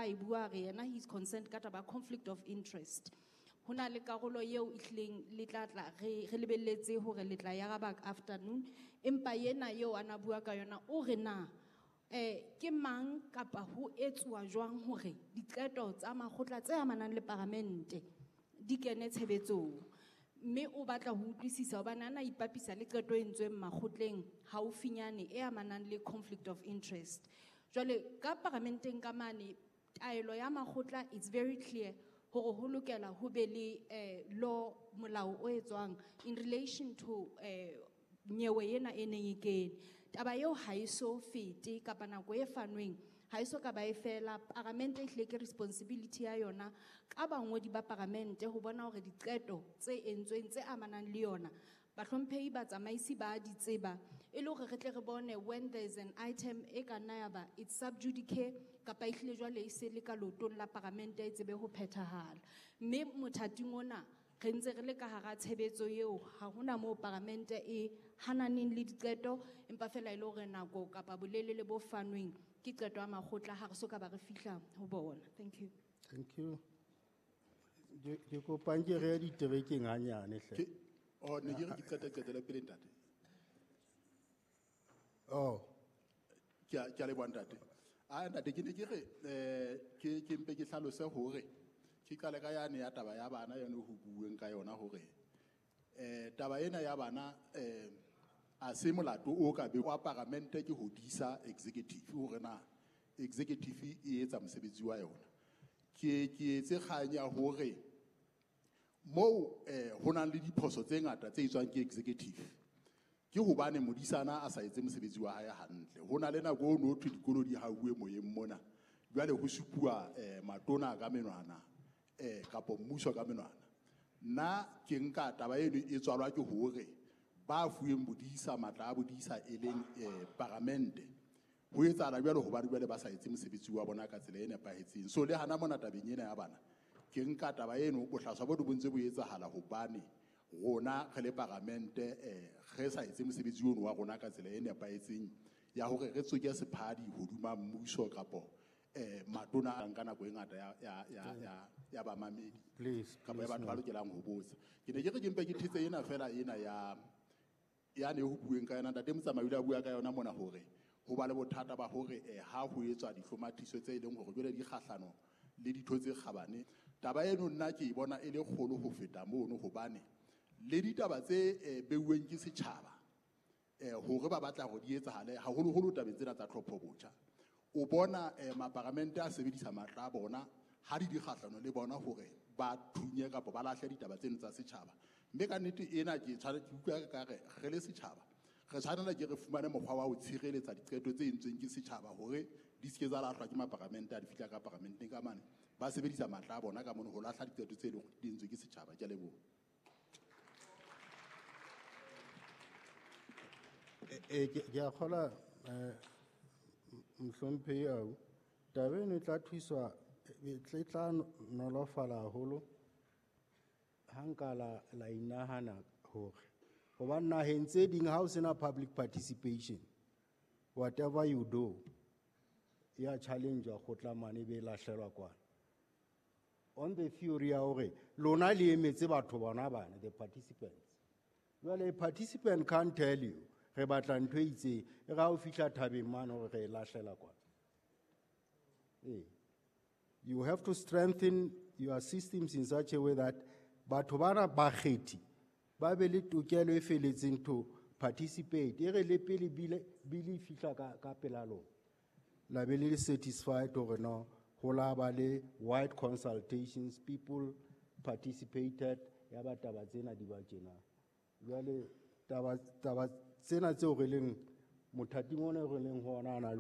e bua re yena he is concerned ka taba ya conflict of interest. Ho na le karolo eo ehlileng le tla tla re re lebelletse hore le tla ya araba afternoon, empa yena eo a na bua ka yona o re na ke mang kapa ho etsuwa jwang hore diqeto tsa makgotla tse amanang le paramente di kene tshebetsong. Mme o batla ho utlwisisa hobane a na ipapisa le qeto e entsweng makgotleng haufinyane e amanang le conflict of interest. Jwale ka paramenteng ka mane taelo ya makgotla it's very clear hore ho lokela ho be le law molao o etswang in relation to nyewe ena e neng e kene. Taba eo ha e so fete kapa nako e fanweng ha e so ka ba e fela. Paramente e hlile ke responsibility ya yona ka bangodi ba paramente ho bona hore diqeto tse entsweng tse amanang le yona bahlomphehi batsamaisi ba di tseba, e le hore re tle re bone when there is an item e ka nna ya ba it's sub judice kapa e hlile jwale e se le ka leotong la paramente e tsebe ho phethahala. Mme mothating ona re ntse re le ka hara tshebetso eo, ha hona moo paramente e hananeng le diqeto, empa fela e le hore nako kapa bolelele bo fanweng ke qeto ya makgotla ha re so ka ba re fihla ho bona. Thank you. Thank you. Ke kopa nke re ye diterekeng hanyane hle. Ke, oh, ne ke re ke qete qetele pele ntate. Oh. Ke a leboha ntate. Ah, ntate, ke ne ke re, ke mpe ke hlalose hore ke qale ka yane ya taba ya bana yone ho bueng ka yona hore, taba ena ya bana, a se molato o ka be wa paramente ke ho disa executive hore na executive e etsa mosebetsi wa yona. Ke etse kgang ya hore moo, ho nang le diphoso tse ngata tse etswang ke executive ke hobane modisana a sa etse mosebetsi wa hae hantle. Ho na le nako o no thwe dikolo di hauwe moyeng mona, jwale ho supuwa, matona ka menwana, kapo mmuso ka menwana. Nna ke nka taba eno e tswalwa ke hore ba fuweng bodisa matla a bodisa e leng, paramente, ho etsahala jwalo hobane jwale ba sa etse mosebetsi wa bona ka tsela e nepahetseng. So le hana mona tabeng ena ya bana, ke nka taba eno bohlaswa bo bo ntse bo etsahala hobane rona re le paramente, re sa etse mosebetsi ono wa rona ka tsela e nepahetseng ya hore re tsoke sephadi hodima mmuso kapo, matona a nka nako e ngata ya bamamedi. Please, Kapa ya please, batho ba no. lokelang ho botsa. Ke ne ke re ke mpe ke thetse ena fela ena ya ne ho bueng ka yona. Ntate Motsamai o ile a bua ka yona mona hore ho ba le bothata ba hore, ha ho etswa dihlomathiso tse e leng hore jwale di kgahlano le ditho tse kgabane. Taba eno nna ke e bona e le kgolo ho feta mono, hobane le ditaba tse, beuweng ke setjhaba, hore ba batla hore di etsahale, haholoholo tabeng tsena tsa tlhopho botjha. O bona, maparamente a sebedisa matla a bona ha di kgahlano le bona hore ba thunye kapa ba lahle ditaba tseno tsa setjhaba. Mme ka nnete ena ke tshwane, ke utlwa ka re, re le setjhaba, re tshwanela ke re fumane mokgwa wa ho tshireletsa diqeto tse entsweng ke setjhaba hore di se ke tsa lahlwa ke maparamente a di fihla ka paramenteng ka mane. Ba sebedisa matla a bona ka mono ho lahla diqeto tse leng hore di entswe ke setjhaba. Ke a leboha. Ke a kgolwa, mohlomphehi au, taba eno e tla thuswa, e tla nolofala haholo ha nka la inahana hore hobane naheng tse ding ha o sena public participation, whatever you do, ya challenge kgotla mane be lahlelwa kwana. On the theory ya hore lona le emetse batho bona bana, the participants. Jwale a participant can't tell you re batla ntho e itseng, e re ha o fihla thabeng mane hore re e lahlela kwana. You have to strengthen your systems in such a way that batho bana ba kgethi ba be le tokelo e feletseng to participate. E re le pele bile e fihla ka pela lona, la be le satisfied hore no, ho la ba le wide consultations, people participated, ya ba taba tsena di ba tjena. Jwale taba tsena tseo re leng mothating ona re leng ho ona hona jwale.